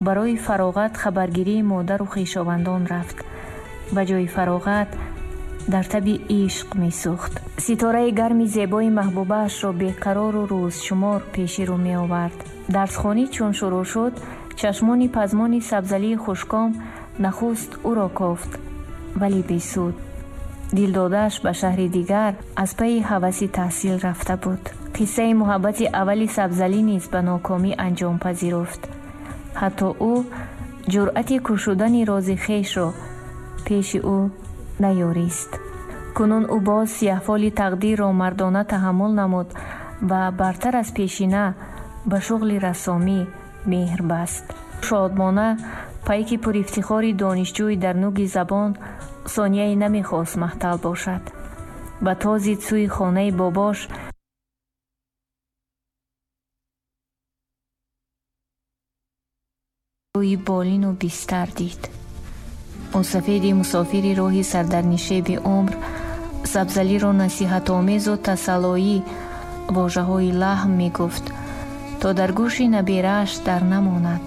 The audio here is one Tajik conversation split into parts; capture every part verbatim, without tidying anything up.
Барои фароғат хабаргирии модару хешовандон рафт. Ба ҷои фароғат дар таби ишқ месӯхт. Ситораи гарми зебои маҳбубаашро беқарору рӯзшумор пеши рӯ меовард. Дарсхонӣ чун шурӯъ шуд, чашмони пазмони Сабзалии хушком нахуст ӯро кофт, вале бесуд. Дилдодааш ба шаҳри дигар аз пайи ҳаваси таҳсил рафта буд. Қиссаи муҳаббати аввали Сабзалӣ низ ба нокомӣ анҷом пазируфт. Ҳатто ӯ ҷуръати кушудани рози хешро пеши ӯ наёрист. Кунун ӯ боз сияҳфоли тақдирро мардона таҳаммул намуд ва бартар аз пешина ба шуғли рассомӣ меҳр баст. Шодмона пайки пурифтихори донишҷӯй дар нуги забон сонияе намехост маҳтал бошад. Ба тозид сӯи хонаи бобош рӯи болину бистар дид. Мусафеди мусофири роҳи сардарнишеби умр Сабзалиро насиҳатомезу тасаллоӣ вожаҳои лаҳм мегуфт, то дар гӯши наберааш дар намонад.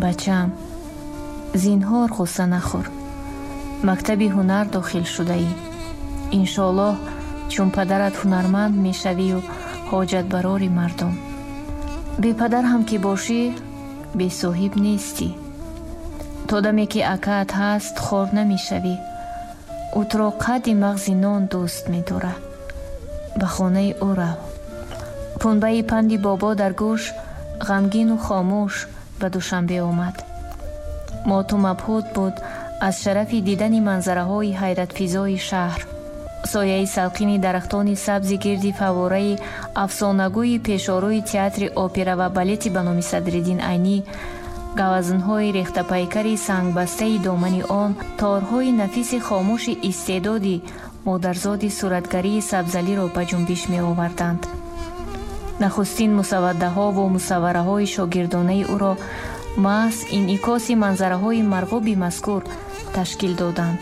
Бачам, зинҳор ғусса нахӯр. Мактаби ҳунар дохил шудаӣ. Иншоаллоҳ, чун падарат ҳунарманд мешавию ҳоҷатбарори мардум. Бепадар ҳам ки бошӣ, бесоҳиб нестӣ. То даме ки акаат ҳаст, хор намешавӣ. Ӯ туро қадди мағзи нон дӯст медорад. Ба хонаи ӯ рав. Пунбаи панди бобо дар гӯш ғамгину хомӯш ба Душанбе омад. Моту мабҳут буд аз шарафи дидани манзараҳои ҳайратфизои шаҳр. Сояи салқини дарахтони сабзи гирди фаввораи афсонагӯи пешорӯи театри опера ва балети ба номи Садриддин Айнӣ, гавазнҳои рехтапайкари сангбастаи домани он, торҳои нафиси хомӯши истеъдоди модарзоди суратгарии Сабзалиро ба ҷунбиш меоварданд. Нахустин мусаввадаҳову мусаввараҳои шогирдонаи ӯро маҳз инъикоси манзараҳои марғуби мазкур ташкил доданд.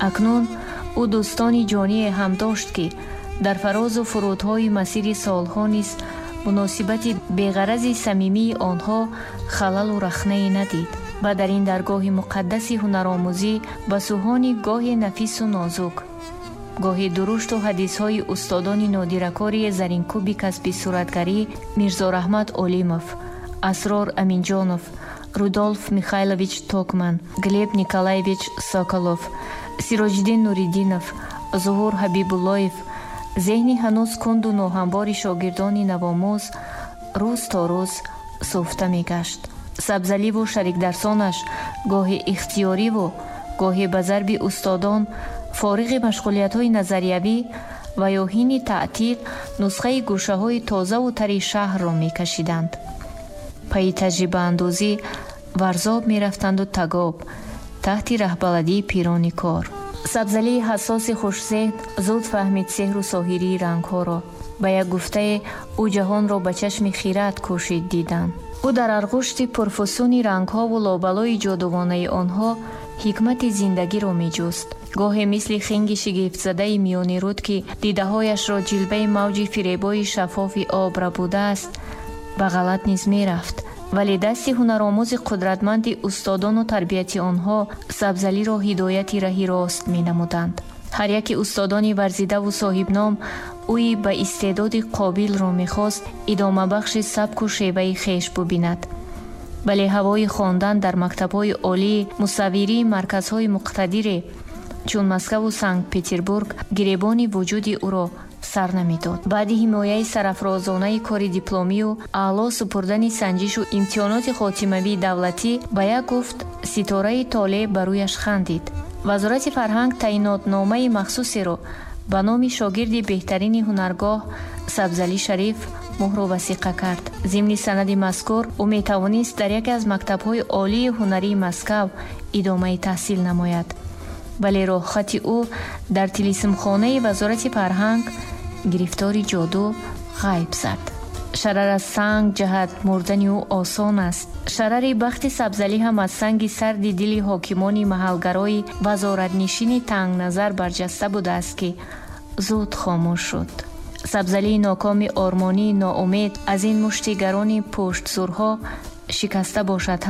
Акнун ӯ дӯстони ҷоние ҳам дошт, ки дар фарозу фурудҳои масири солҳо низ муносибати беғарази самимии онҳо халалу рахнае надид ва дар ин даргоҳи муқаддаси ҳунаромӯзӣ ба сӯҳони гоҳе нафису нозук, гоҳе дурушту ҳадисҳои устодони нодиракори заринкӯби касби суратгарӣ Мирзораҳмат Олимов, Асрор Аминҷонов, Рудолф Михайлович Токман, Глеб Николаевич Соколов, Сироҷиддин Нуриддинов, Зуҳур Ҳабибуллоев зеҳни ҳанӯз кунду ноҳамвори шогирдони навомӯз рӯз то рӯз сӯфта мегашт. Сабзаливу шарикдарсонаш гоҳе ихтиёриву гоҳе ба зарби устодон фориғи машғулиятҳои назариявӣ ва ё ҳини таътил нусхаи гӯшаҳои тозаву тари шаҳрро мекашиданд. Пайи таҷрибаандозӣ Варзоб мерафтанду Тагоб таҳти раҳбаладии пирони кор. Сабзалии ҳассоси хушзеҳн зуд фаҳмид сеҳру соҳирии рангҳоро. Ба як гуфтае ӯ ҷаҳонро ба чашми хират кӯшид дидан. Ӯ дар арғушти пурфусуни рангҳову лобалои ҷодувонаи онҳо ҳикмати зиндагиро меҷуст. Гоҳе мисли хинги шигифтзадаи миёни руд, ки дидаҳояшро ҷилваи мавҷи фиребои шаффофи об рабудааст, ба ғалат низ мерафт. Вале дасти ҳунаромӯзи қудратманди устодону тарбияти онҳо Сабзалиро ҳидояти раҳи рост менамуданд. Ҳар яке устодони варзидаву соҳибном ӯи ба истеъдоди қобилро мехост идомабахши сабку шеваи хеш бубинад. Вале ҳавои хондан дар мактабҳои олии мусаввирии марказҳои муқтадире чун Москаву Санкт-Петербург гиребони вуҷуди ӯро сар намедод. Баъди ҳимояи сарафрозонаи кори дипломию аъло супурдани санҷишу имтиҳоноти хотимавии давлатӣ ба як гуфт ситораи толеъ ба рӯяш хандид. Вазорати фарҳанг таъинотномаи махсусеро ба номи шогирди беҳтарини ҳунаргоҳ Сабзалӣ Шариф муҳру васиқа кард. Зимни санади мазкур ӯ метавонист дар яке аз мактабҳои олии ҳунарии Москав идомаи таҳсил намояд. Вале роҳхати ӯ дар тилисмхонаи вазорати фарҳанг гирифтори ҷоду ғайб зад. Шарар аз санг ҷаҳат мурдани ӯ осон аст. Шарари бахти Сабзалӣ ҳам аз санги сарди дили ҳокимони маҳалгарои вазоратнишини тангназар барҷаста будааст, ки зуд хомӯш шуд. Сабзалии нокоми ормонии ноумед аз ин мушти гарони пуштсурҳо Шикаста бошад.